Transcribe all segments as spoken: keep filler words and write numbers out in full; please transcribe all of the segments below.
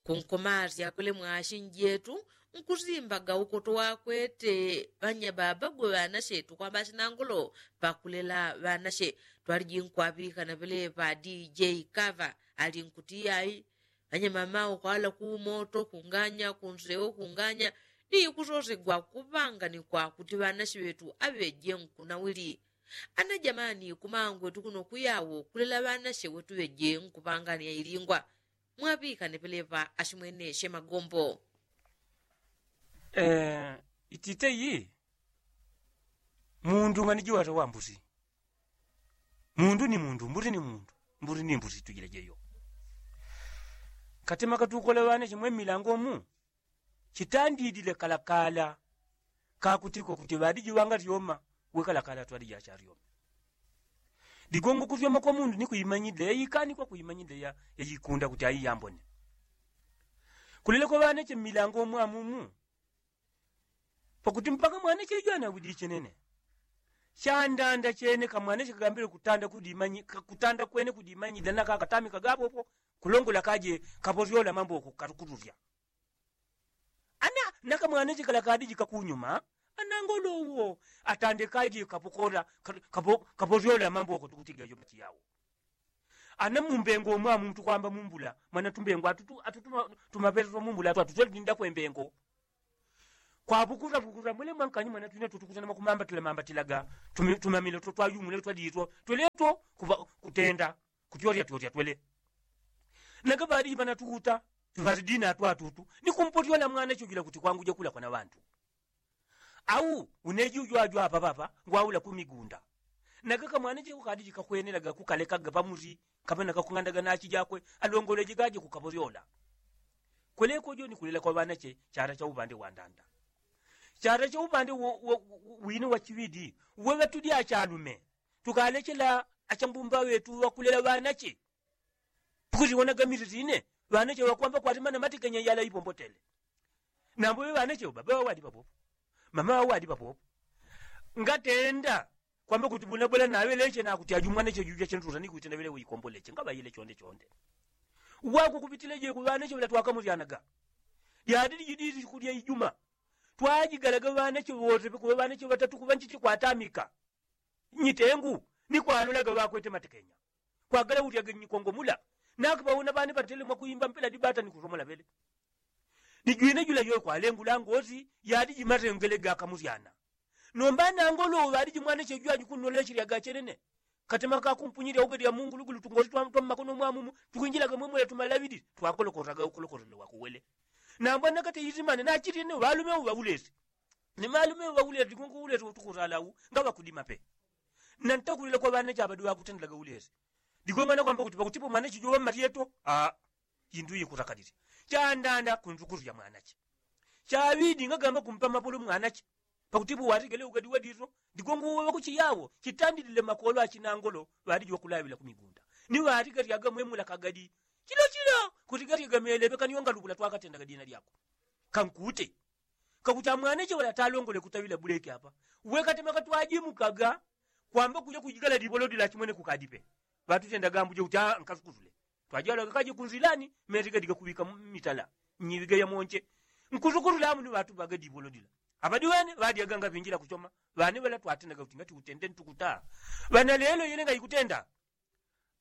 Kunkomasya kule mwashi njetu nkusimbaga ukoto wakwete ŵanyababa gwe ŵanashe tukwamba ashinangolo pakulela ŵanashe. Twaliji nkwaŵikana ŵeleŵa dj kava ali nkuti ai ŵanyamama ukwala kumoto kunganya kunsewo kunganya ni kusosegwa kuŵanganikwa kuti ŵanashe ŵetu aŵeje nkunawili. Ana jamani kumangwetu kuno kuyawo kulela ŵanashe wetu ŵeje nkuŵangania ilingwa. Mwaŵikane peleŵa ashimweneshe magombo. Itite iyi mundu ngani jiwata wambusi. Mundu ni mundu mbusi ni mundu mbusi ni mbusi tujila jeyo. Katema katukola ŵane chimwe mmilango mu chitandidile kalakala kakutiko kuti ŵadiji ŵangaryoma. Wekalakala twadiji acharyoma. Digongo kuryoma kwa mundu ni kuimanyidila yaikanikwa kuimanyidila yayikunda kuti aiyambone. Kuleleko ŵaneche mmilango mwamumu pakuti mpaka mwaneche ijwana widi chenene. Chandanda chene kamwaneche kagambile kutanda kudimanyidila naka katami kagapopo kulongola kaje kaporyola mamboko karukururya. Ana nakamwaneche kala kadiji kakunyuma anangolo uwo atande kaje kapokora kaporyola mamboko tukutiga yo mati yawo. Ana mumbengo mwamu tukwamba mumbula mwana tumbengo atu tumapele twa mumbula atu atu twelindila kwembengo. Kwapukura pukura mwele mwankanyi mwana twina tutukutana mwakumambatila mambatilaga tumamile twayumule twadiitwo tweleto kutenda kutyorya tyorya twele. Naka ŵadiji ŵanatukuta ŵaridina atu atutu ni kumpotyola mwana chujila kuti kwanguje kulakwa na ŵantu. Au uneji ujo ajo apa papa ngwaula kumigunda. Naka kamwana cheko kadiji kakwenelaga kukalekaga pamusi kapena kakung'andaga nachi jakwe alongoleje gaje kukaporyola. Kweleko jo ni kulela kwa ŵanache chara cha upande wa ndanda. Chara cha upande wine wa chiŵidi uwe ŵatudi achalume tukalechela achambumba ŵetu ŵakulela ŵanache. Tukuliwonaga misisine ŵanache ŵakwamba kwatimana matikenya yala ipombotele. Nambo ŵe ŵanache baba ŵawadi papopo mama ŵawadi papopo. Ngatenda kwamba kuti bunabwela naŵeleche nakuti aji umwanache juja chentusa nikuitenda ŵele uikomboleche ngaŵayile chonde chonde. Wakukupitileje ku ŵanache ŵela twakamusyanaga. Lyadili jidili siku lya ijuma twajigalaga ŵanache ŵose pekuŵe ŵanache ŵatatu kuŵa nchichi kwatamika. Nyitengu ni kwalulaga ŵakwete matekenya kwagala ulyaga nyikongo mula. Naki ŵauna ŵane ŵatele mwakuimba mpela dibata ni kusomola ŵele. Ni jwine jula yoyo kwalengula ngosi yadi jimatengele gakamusyana. Nomba nangolo ŵadi jimwaneche jwaji kunnoleche lyagachenene. Katema kakumpunyilya uga lya mungulugulu tungosi twa mmakono mwamumu tukwinjilaga mwemwela tumalaŵidi twakolokotaga ukolokotelwa kuwele. Nambwa nakate isimane nachitine ŵalume uŵaulesi. Ni malume ŵaulesi digongo ulesi utukusala u ngaŵakudima pe. Nantakulila kwa ŵanache aŵadi ŵakutendilaga ulesi. Digongo anakwamba kuti pakutipo mwanache joŵa mmalyeto aa. Indu yikutakalile chandanda kunzukusu ya mwanache. Chaŵidi ngagamba kumpa mapolo mwanache pakutipo watigele ugadi wadito. Digongo uwe ŵakuchiyawo chitandilile makolo achinangolo ŵadiji ŵakulaŵila kumigunda ni ŵatigalyaga mwemula kagadi. Chilo chilo kutigalyaga melepe kaniyo ngalubula twakatendaga dina lyako. Kankute kakuti amwanache ŵala talongole kutaŵila buleke apa. Wekatema katwajimukaga kwamba kuja kujigala libolodi lachimwene kukadipe. Ŵatutendaga ambuje kuti aa nkasukusule. Twajalaga kaje kunzilani metiga diga kuŵika mitala nyiŵiga yamonche. Nkusukusule amu ni ŵatuŵaga libolodi la. Aŵadi ŵene ŵadyaga ngaŵinjila kuchoma. Ŵane ŵala twatendaga kuti ngati utende ntukuta. Ŵana lelo yene ngaikutenda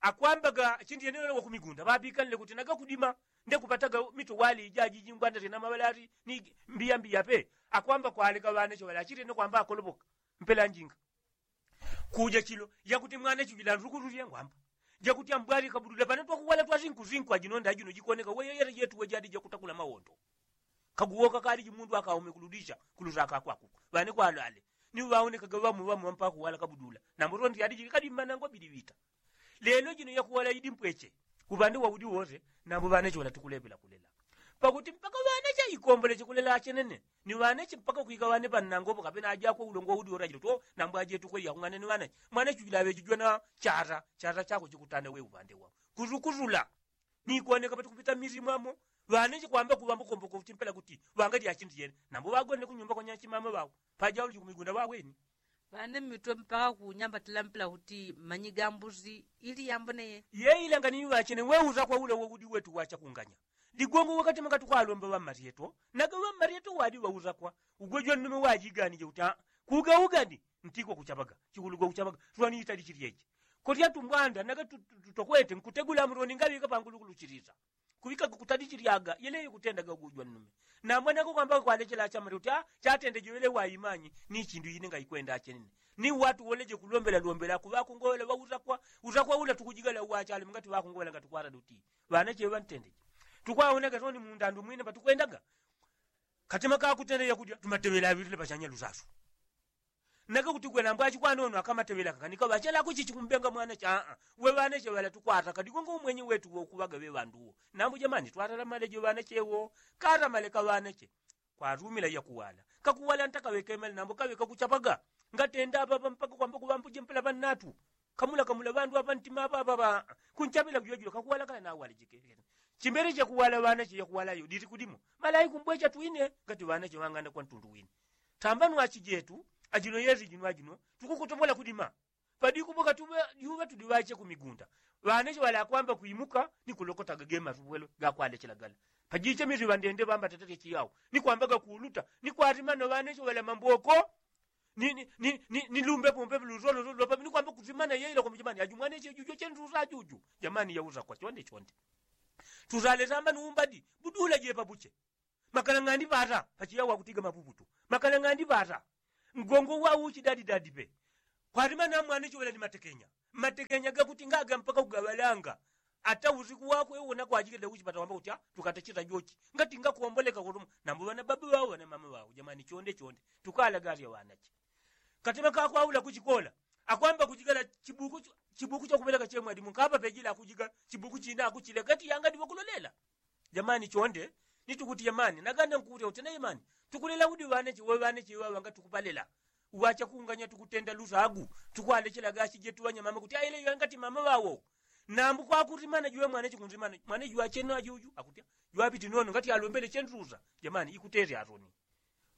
akwambaga chindi yene ŵala wakumigunda ŵaŵikanile kuti nagakudima. Ndekupataga mito wali ijaji jingwanda tena maŵalati ni mbiya mbiya pe. Akwamba kwaleka ŵanache ŵala achitene kwamba akolopoka mpela njinga. Kuja chilo yakuti mwana chujila ndukutulie ngwamba jakuti ambwali kabudula pana twakuwala twasinkusinkwajino ndajino jikoneka weyeyere jetu wejadi jakutakula mawondo. Kaguwoka kaliji mundu akaume kuludisha kulusaka kwakuku ŵane kwalwale. Ni ŵaonekaga ŵamu ŵamu ŵampakuwala kabudula nambo tondi yadiji kadi mmanangwa bidi ŵita. Lelo jino yakuwala idi mpweche. Uŵande waudi wose nambo ŵanache ŵala tukulepela kulela pakuti mpaka ŵanache ikomboleche kulela achenene. Ni ŵanache mpaka kwika ŵane pannangopo kapena ajakwe ulongo waudi wose ajilo to nambo ajetu kweli yakung'ane ni ŵanache. Mwanache ujila ŵejijwa na chata chata chako chikutanda we uŵande wao. Kusukusula ni kuoneka patukupita mmizi mwamo. Ŵanache kwamba kuŵambo komboka kuti mpela kuti ŵangalya achindu yene nambo ŵagonele kunyumba kwa nyachimama ŵao. Pajauli kumigunda ŵaweni. Ŵane mmitwe mpaka kunyambatila mpela kuti manyi ga mbuzi ili yamboneye. Yeilanga ni ŵachene weuza kwa ule woudi wetu wachakunganya. Ligongo wakati makatukwa alomba ŵammaryeto naga ŵammaryeto wadi ŵausakwa. Ugwe jwannume wajiganije uti kugaugani ntiko kuchapaga chikuluga kuchapaga. Twaniitali chilyeche koti atumbwanda naga tutokwete nkutegula amuroni ngaŵika pangulukuluchilisa. Kuŵika kutali chilyaga yeleyo kutendaga ugwe jwannume. Namwe naga kwamba kwalechela achamari uti chatendeje wele waimanyi ni chindu ine ngaikwenda achenene. Ni watu woleje kulombela lombela kuŵakungowela ŵausakwa. Usakwa ula tukujigala uwachalume ngati ŵakungowela ngati kwarada uti ŵanache ŵantendeje. Tukwawonaga toni mundandu mwine patukwendaga katima kakutendeja kudya tumateŵela aŵilile pachanya lusasu. Nake kuti gwena mbwachi kwanono akamateŵela kakanika ŵachela kuchichi kumbenga mwanache aa. We ŵanache ŵala tukwata kadigongo umwenye wetu wokuŵaga ŵe ŵanduwo. Nambu jamani twatala maleje ŵanachewo. Kata maleka ŵanache kwatumila yakuwala kakuwala ntakaŵekemale nambu kaŵeka kuchapaga. Ngatenda apapa mpaka kwamba kuŵambuje mpela ŵannatu kamula kamula ŵandu apantima apapa ŵa kunchapila kujwajula kakuwala kala nawalejeke. Chimbele chakuwala ŵanache yakuwalayo diti kudimo. Malai kumbwecha twine ngati ŵanache ŵang'anda kwa ntundu wine. Tambanu achijetu ajino yesi jino ajino tukukutopola kudima. Padikubuka tuŵa juŵa tudi ŵache kumigunda. Ŵanache ŵala akwamba kwimuka ni kulokotaga gemasubwelo gakwalechela gala. Pajiche misi ŵandende ŵamba tatate chiyawo ni kwambaga kuuluta ni kwatimano ŵanache ŵala mamboko. Ni lumbepo mpepe lusolo lolo papi ni kwamba kutimana yeila kwamba jamani aju mwaneche juju chendusa juju. Jamani yausakwa chonde chonde. Tusale samba ni umbadi budula jepa buche. Makalang'andi ŵata pachiya wakutiga mapuputu. Makalang'andi ŵata ngongo wauchi dadi dadi pe. Kwatima na mwaneche wela ni matekenya. Matekenya gakuti ngaga mpaka kugaŵalanga. Ata usiku wakwe wona kwajikile uchipata wamba kuti tukatachita jochi ngati ngakuomboleka kutuma. Nambu ŵana baba ŵao ŵana mama ŵao jamani chonde chonde. Tukalaga asya ŵanache katima kakwaula kuchikola akwamba kuchigala chibuku chakuŵeleka chemwadi munkapa pejila akujiga chibuku china akuchile gati yangadi wakulolela. Jamani chonde ni tukuti jamani naganda nkuti uti na jamani tukulela udi ŵaneche we ŵaneche ŵaŵanga tukupalela. Uŵachakunganya tukutenda lusagu tukwalechela gashi jetu ŵanyamama kuti aile yangati mama ŵawo. Nambu kwakuti mana juŵe mwaneche kunzi mana mwaneche juŵachena juju akuti juŵapiti nono ngati alombele chendusa. Jamani ikutesya atoni.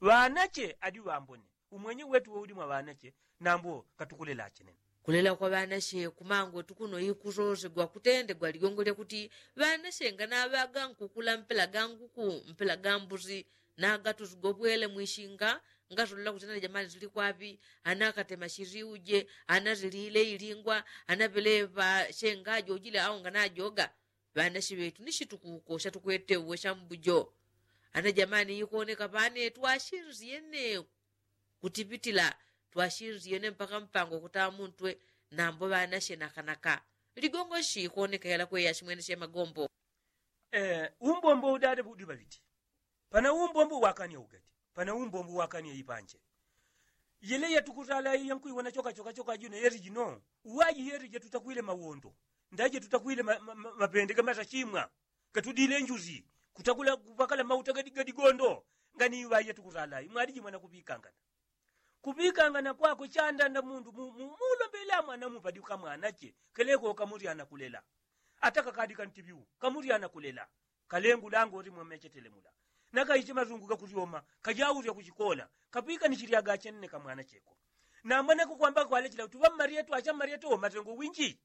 Ŵanache adi ŵambone umwenye wetu woudi mwa ŵanache. Nambo katukulela achenene. Kulela kwa ŵanache kumangwetu kuno ikusosegwa kutendegwa ligongo lyakuti ŵanache nganaŵaga nkukula mpela ga nguku mpela ga mbusi. Nagatusigobwele mwishinga ngasolola kuti ana jamani tuli kwapi? Ana akatema shiriuje ana zilile ilingwa ana pelepa shenga ajojile au nganajoga. Ŵanashi ŵetu ni shitukuko shatukwete uwe shambujo. Ana jamani ikoneka pane twashinzie ne kutipitila twashinzie ne mpaka mpango kutamuntwe. Nambo ŵanashi nakanaka ligongo shi ikoneka yalakweya shimwene shemagombo. Umbombo udade budiŵaŵiti. Pana umbombo wakania ugadi pana umbombo wakania ipanje. Yele yatukutala yankuiwona choka choka choka jino yeri jino uwaji yeri jetutakwile mawondo ndaje tutakwile mapende gamatachimwa. Gatudile njuzi kutakula kupakala mauta gadigondo. Ngani iwaji yatukutala imwaliji mwana kupikangana. Kupikangana kwakwe chandanda mundu mulombela mwana mupadi kamwanache. Keleko kamuryana kulela ata kakadi kantibiu kamuryana kulela. Kalengu lango limwe mechetele mula nakaiche masungu gakusyoma kajausya kuchikola. Kapika ni chilyaga achenene kamwana cheko. Namwe nakukwamba kwalechela kuti ŵammaryeto achammaryeto matengo winji.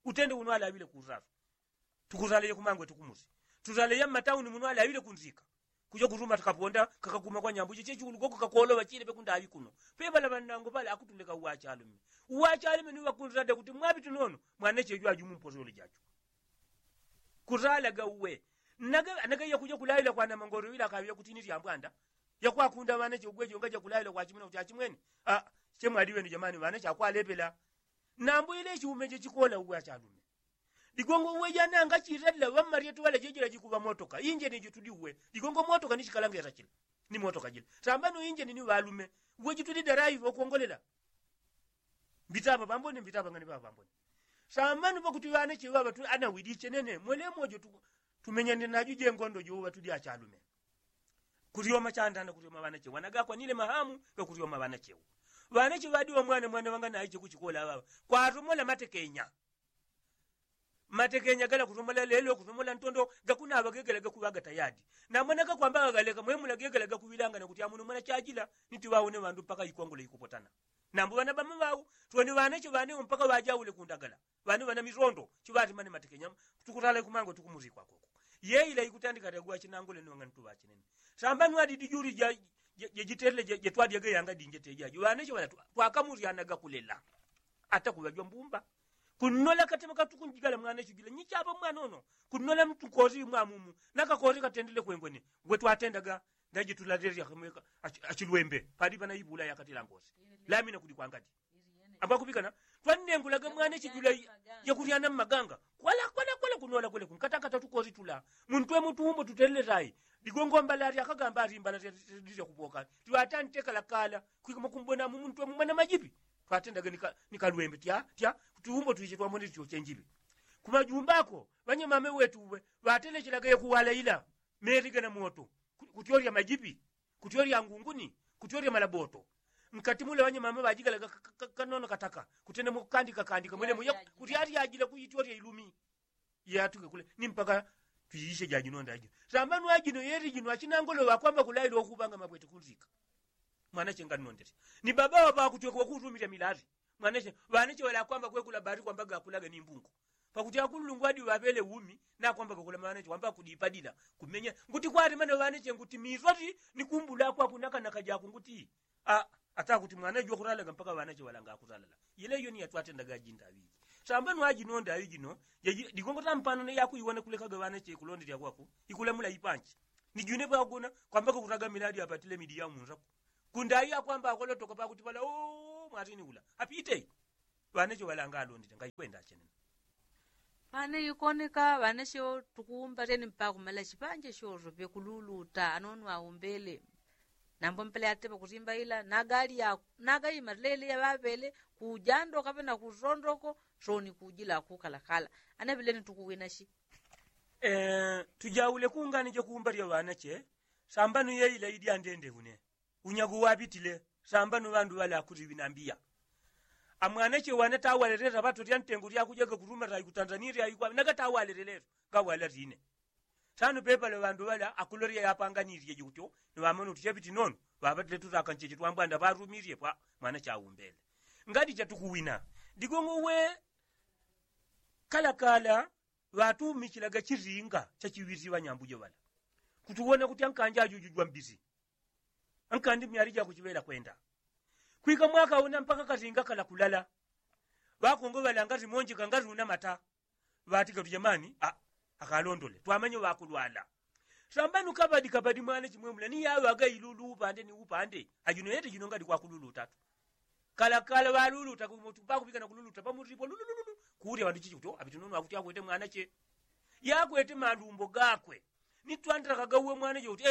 Utende uno alaŵile kusasu. Tukusaleje kumangwe tukumusi tusaleje mmatauni muno alaŵile kunzika. Kuja kutuma takaponda kakakuma kwa nyambuche chechiulugoko kakoloŵa chile pekundaŵi kuno. Peŵala ŵannango pale akutuleka uwachalume. Uwachalume ni ŵakunzade kuti mwapiti nono mwaneche jwaju mumposole jachu. Kusalaga uwe nagaiya kuja kulaila kwana mangoro ila kaŵia kuti ni syambwanda. Yakwakunda ŵanache ugweje ungaja kulaila kwachimwene kuti achimwene. Chemwaliwenu jamani ŵanache akwalepela. Nambu ile chiume chechikola uwe achalume. Ligongo uwe jana angachirela ŵammaryetu ŵalajejela jikuŵa motoka injeni jitudi uwe. Ligongo motoka ni chikalangeta chila ni motoka jila. Sambano injeni ni ŵalume uwe jitudi daraiva ukongolela. Mbitapa pambone mbitapa ngani papa pambone. Samanu pakuti ŵanache ŵaŵa anawili chenene mwele mojo tumenyane naju jengondo jouŵa tudi achalume. Kuryoma chandana kuryoma ŵanache ŵanagakwanile mahamu gakuryoma ŵanachewo. Ŵanache ŵadiŵa mwana mwana ŵanganaiche kuchikola ŵaŵa kwatomola matekenya. Matekenya gala kusomola lelo kusomola ntondo gakunaŵa gegela gakuŵaga tayadi. Namwe nagakwamba gagaleka mwemula gegela gakuŵilangana kuti amuno mwana chajila. Niti ŵaone ŵandu mpaka ikwangula ikupotana. Nambu ŵana ŵamaŵau tweni ŵanache ŵanewo mpaka ŵajaule kundagala. Ŵanu ŵana misondo chiŵatimane matekenya. Tukusala ikumango tukumuzikwa koko. Yeila ikutandika tagwa chinangule nong'antu ŵachinene. Samba nwadidi juli jejitelele jetwadyaga yanga dinje tejajo ŵaneche ŵala twakamulyanaga kulela. Ata kuŵajwa mbumba kunnola katema katukunjigala mwaneche jula nyichapa mwanono. Kunnola mtu kosi mwamumu nakakoti katendele kwengwene. Ngwe twatendaga ndaji tulalerya kamweka achilwembe palipa na ibula yakatila ngosi. Lamina kuli kwangadi ambakupikana twannengulaga mwaneche jula yakulyana mmaganga kwala kwala kwala kunola kwele kunkatakata tukosi tula. Muntwe mutumbo tutelele tayi. Ligongo mbala lyakagamba alimbala lyakupoka. Tiwatantekala kala kwikuma kumbona mumuntwe mumwana majipi. Twatendaga nikalwembe tya tya. Tuumbo twiche twamone tyo chenjipi. Kumajumbako ŵanyamame wetu uwe ŵatelechelaga yakuwala ila meli gana moto. Kutyorya majipi kutyorya ngunguni kutyorya malaboto. Nkati mule ŵanyamama ŵajigalaga kanono kataka kutenda mukukandika kandika mwelemo kuti alyajila kuityorya ilumi. Yatuke kule ni mpaka twiishe jajino ndajino. Sambano ajino yeli jino achinangolo ŵakwamba kulaila ukupanga mabwete kunzika. Mwanache ngannondesya ni baba ŵaŵakutweka wakutumilya milali. Mwanache ŵanache ŵalakwamba kwekula bali kwamba gakulaga ni mbungu. Pakuti akululungwadi ŵaŵele umi nakwamba gakula mwanache wamba kudipadila kumenya. Nguti kwalimana ŵanache nguti miswati ni kumbula kwaku nakanaka jaku nguti. Ata kuti mwana jwakulalaga mpaka ŵanache ŵalanga akulala. Yila iyo ni yatwatendaga ajinda aŵiji. Sambano ajino ndaŵi jino digongo tampano ne yakuiwona kulekaga ŵanache kulondelya kwaku ikulamula ipanchi. Ni june pagona kwamba kakutaga miladi apatile midi ya munzaku. Kundaŵi akwamba akolotoka pakuti pala oo mwatini ula apite. Ŵanache ŵalanga alondele ngaikwenda achenena. Pane ikoneka ŵanache tukuumba lyeni mpaka kumala chipanje shosho pekululuta anono aumbele. Nambo mpela yatepa kusimba ila nagali yaku nagaima lele yaŵaŵele kujando kapena kusondoko. Soni kujila kukalakala anaŵileni tukuwinashi. Tujaule kungani jakuumba lya ŵanache. Sambano yeila idyandende une unyago wapitile. Sambano ŵandu ŵala akuti ŵinambiya amwanache wane tawaleleta ŵato lya ntengo lyakujaga kutuma taikutanzania lyaikwa nagatawaleleleto. Ngawala line sano pepale ŵandu ŵala akulolya yapanganilye jikutyo. Ni ŵamona kuti chapiti nono ŵapatile tutaka ncheche twambwanda ŵarumilye pwa mwanache aumbele. Ngati chatukuwina digongo we kalakala ŵatumichilaga chilinga chachiŵisi ŵanyambujo ŵala. Kutuwona kuti ankanja ajuju jwambisi ankandi myali jakuchiŵela kwenda kwika mwaka una mpaka kasinga kala kulala. Ŵakongo ŵalanga simonjeka ngati una mata. Ŵatika tujamani akalondole twamanye ŵakulwala. Sambano kabadi kabadi mwana chimwemula ni yaŵaga ilulu upande ni upande. Ajuno yete juno ngati kwakululu utatu. Kalakala ŵaluluta pakupikana kululuta pamutipo lulululu. Kulya ŵandu chichi kuti apite nono akuti akwete mwanache yakwete malumbo gakwe. Nitwandilakaga uwe mwanache kuti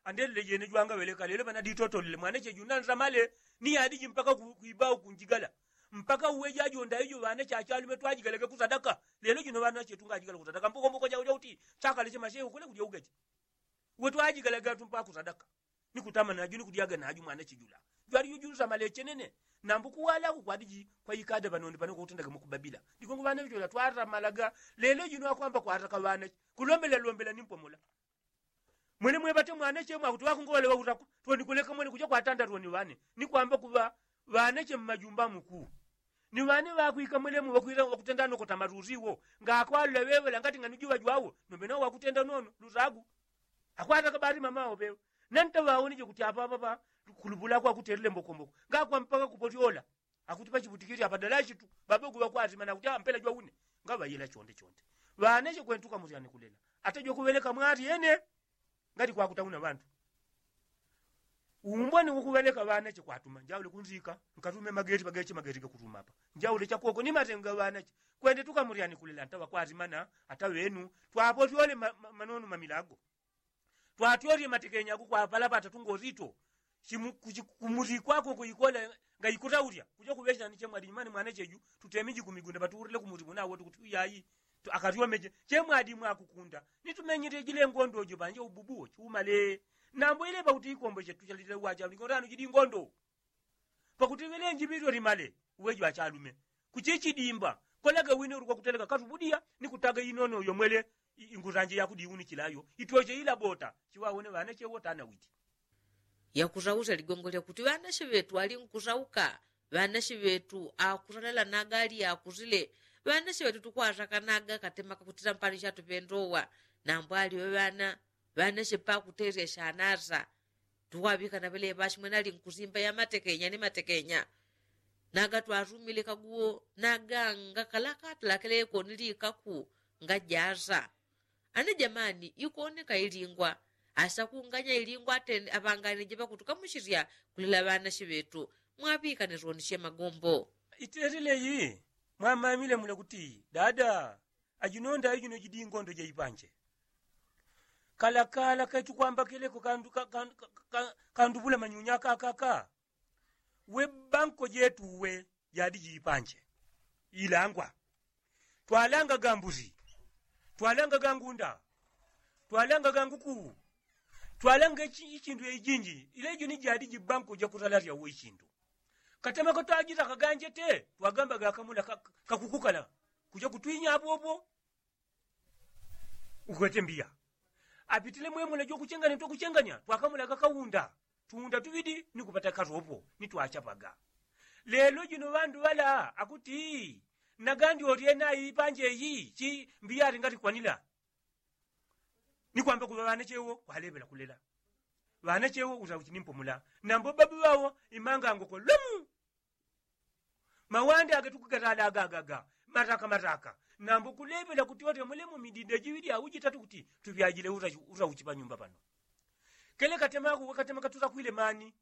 andelele jene jwangaŵeleka lelo ŵanaditotolele mwanache junansamale. Ni yadiji mpaka kwibau kunjigala mpaka uwe jajonda ijo ŵanache achalume twajigalaga kusadaka. Lelo jino ŵanache tungajigala kusadaka mbokomboko jauja kuti chakaleche mashehu kule kulya ugache. Uwe twajigalaga tumpa kusadaka. Ni kutama naju ni kudyaga naju mwanache jula. Jwali jujunsamale chenene. Nambu kuwalako kwadiji kwaikada ŵanonde ŵano kwakutendaga mukubabila. Digongo ŵanache jula twatamalaga. Lelo jino akwamba kwataka ŵanache kulombela lombela ni mpomola. Mwene mweŵate mwanache mwakuti ŵakungowale ŵakutakwa. Twoni kuleka mwene kuja kwatanda twoni ŵane ni kwamba kuŵa ŵanache mmajumba mukuu. Ni ŵane ŵakwika mwelemu ŵakwila ŵakutenda nokota malusi wo. Ngakwalula ŵeŵela ngati ng'anuji ŵajwawo nombe nawo ŵakutenda nono lusagu. Akwataka ŵali mama wo ŵeŵe. Nanta ŵawonije kuti apaapa kulupula kwakutelele mbokomboko ngakwa mpaka kupotyola. Akuti pachiputikili apadalashi tu ŵabogu ŵakwasimana kuti ampela jwaune. Ngaŵayela chonde chonde ŵanache kwentuka musyane kulela. Ata jwakuŵeleka mwali ene ngati kwakutauna ŵandu. Umbwani ukuŵeleka ŵanache kwatuma njaule kunzika nkatume mageti pageche mageti gakutumapa. Njaule chakoko ni matenga ŵanache kwende tukamulyani kulela ntaŵa kwasimana. Ata ŵenu twapotyole manono mamilago. Twatyolye matekenya kukwapalapata tungozito kumuti kwako kuikola. Ngaikutaulya kuja kuŵechani chemwali nyumani mwanacheju tutemiji kumigunda patuurule kumuti munawo tukuti uyayi. Akatyomeje chemwali mwakukunda nitumenyile jile ngondo jo panje ububuwo chumale. Nambo ilepa kuti ikombo chetu chalile uwachauli ngondano jili ngondo. Pakuti ŵelenji ŵilyo limale uwejo achalume kuchichidimba. Kolaga wine ulukwa kuteleka katubudiya ni kutaga inono uyo mwele. Ingusanje yakudiunichila yo ityoche ila bota chiwawone ŵanache wotana witi. Yakusausya ligongo lyakuti ŵanache ŵetu ali nkusauka. Ŵanache ŵetu akusalela naga ali akusile. Ŵanache ŵetu tukwatakanaga katema kakutila mpani chatupendowa. Nambwali ŵaŵana ŵanashe pakuterya shanasa tuwaŵikana ŵeleŵa ashimwene ali nkusimba ya matekenya ni matekenya. Naga twarumile kaguwo naganga kalakatala keleko ni likaku ngajasa. Ana jamani ikoneka ilingwa asakunganya ilingwa atende aŵanganije ŵakutukamushirya kulela ŵanashe ŵetu. Mwaŵikane rwonishe magombo. Itelele iyi mwamamile mule kuti dada ajinonda ijino jidi ingondo jaipanje. Kalakala kaitukwambakeleko kandu kandubula manyunya kakaka. We banko jetu we jadi jipanje ilangwa. Twalanga gambuzi, twalanga gangunda, twalanga ganguku, twalanga ichindu ijinji ilejo ni jadi jibanko jakusalasya we ichindu. Katema katwajita kaganje te twagamba gakamula kakukukala kuja kutwinya abobwo. Ukwete mbiya apitile mwemula jokuchenganya twakuchenganya twakamula gakaunda tuunda tuŵidi ni kupata kasopo ni twachapaga. Lelo jino ŵandu ŵala akuti nagandi olyena ipanje iyi chi mbiya alingalikwanila. Ni kwamba kuŵa ŵanachewo kwaleŵela kulela ŵanachewo usa uchinimpomula nambo babu ŵawo imangangoko lomu. Mawande agetukugatala agagaga mataka mataka. Nambo kuleŵela kuti otemulemo midinda jiŵidi au jitatu kuti tuŵyajile usa uchi panyumba pano. Kele katema kuwe katema katutakwile mani.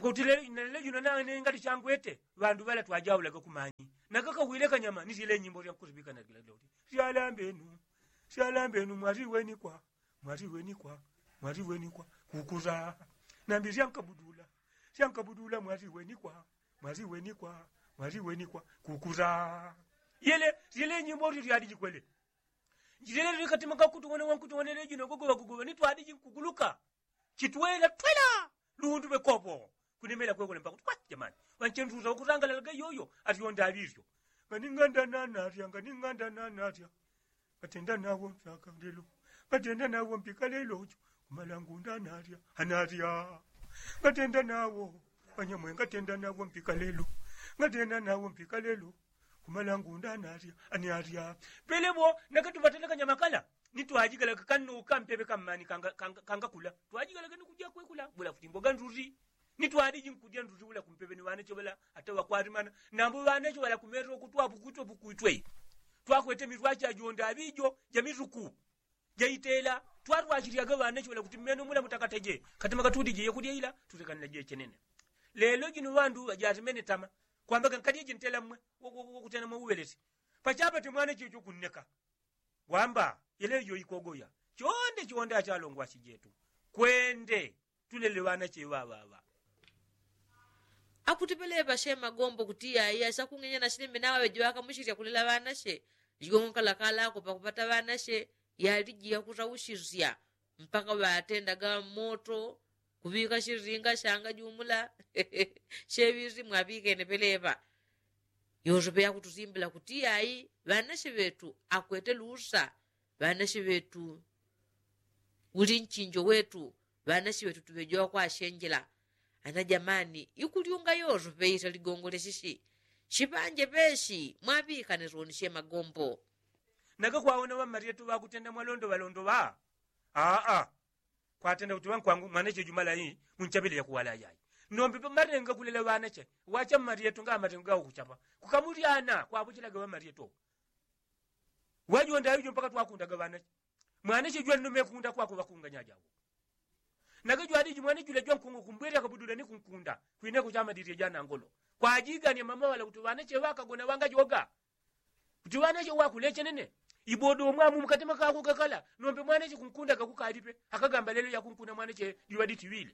Kuti lelo jino nane ngati changwete ŵandu ŵala twajaulaga kumanyi. Nakakawile kanyama ni syele nyimbo syakusiŵikana kilagila kuti syalambenu syalambenu mwatiwenikwa mwatiwenikwa mwatiwenikwa kukusa. Nambi syankabudula syankabudula mwatiwenikwa mwatiwenikwa mwatiwenikwa kukusa. Yele syele nyimbo syo syadi jikwele. Njilele likatima kakutuwona wankutuwona lejino gogoŵa gogoŵa ni twadi jinkuguluka. Chitwela twela lundu ŵekopo kunemela kwekole mpaka kuti kwati jamani. Wanchendusa wakutangalalaga yoyo atyonda aŵilyo. Nganinganda nanatya nganinganda nanatya. Ngatenda nawo mpaka lelo ngatenda nawo mpika lelo ucho. Kumalangunda anatya anatya. Ngatenda nawo wanyamwe ngatenda nawo mpika lelo. Ngatenda nawo mpika lelo. Kumalangunda anatya anatya. Pele bo nakati ŵatelekanya makala ni twajigalaga kanno kampeve kammani kangakula twajigalaga ni kuja kwekula bula kuti mboga nduti. Ni twadiji nkudya nduti bula kumpeve ni ŵanache ŵala ata ŵakwatimana. Nambo ŵanache ŵala kumetro kutwapukwitwe pukwitwe twakwete mitwache ajonda aŵijo jamituku jaitela. Twatwachilyaga ŵanache ŵala kuti mmeno mula mutakataje katima katudije yakulya ila tutekanila jechenene. Lelo jino ŵandu ŵajatimene tama kwambaga nkadye jintela mmwe wokutena mwe uŵelesi. Pachapate mwana chicho kunneka wamba yelejo ikogoya. Chonde chonde achalongwasi jetu kwende tulele ŵanache ŵaŵaŵa. Akutipele ŵashema gombo kuti yaya sakung'enya nashilime naŵaŵejo ŵakamushilya kulela ŵanache. Jigongo kalakalako pakupata ŵanache yaliji yakusaushilya mpaka ŵatendaga moto kuŵika shilinga shanga jumula. Sheŵisi mwaŵikene peleŵa. Yosepe yakutusimbila kuti ai ŵanashi ŵetu akwete lusa. Ŵanashi ŵetu uli nchinjo wetu. Ŵanashi ŵetu tuŵejowa kwashenjela. Ana jamani ikulyunga yosepe ita ligongo lyeshishi. Shipanje peshi mwaŵikane soni she magombo. Nagakwawona ŵammalyetu ŵakutenda mwalondoŵalondoŵa. Aa kwatenda kuti ŵankwangu mwanache jumala ii munchapile yakuwala yayi. Nombe matenga kulela ŵanache wacha mmalyetu nga matenga gawo kuchapa kukamulyana kwapuchilaga ŵammalyetu. Wajonda aŵijo mpaka twakundaga ŵanache. Mwanache jwannume kunda kwakuŵakunganya jawo. Nagajwadiji mwana jula jwankungu kumbwele akabudula ni kunkunda kwineko chamadilye janangolo. Kwajiganye mama ŵala kuti ŵanache ŵakagona ŵangajoga. Kuti ŵanache ŵakulechenene ibodo mwamu mukatema kako kakala. Nombe mwanache kunkunda gakukalipe akagamba lelo yakunkuna mwanache juŵaditi ŵile.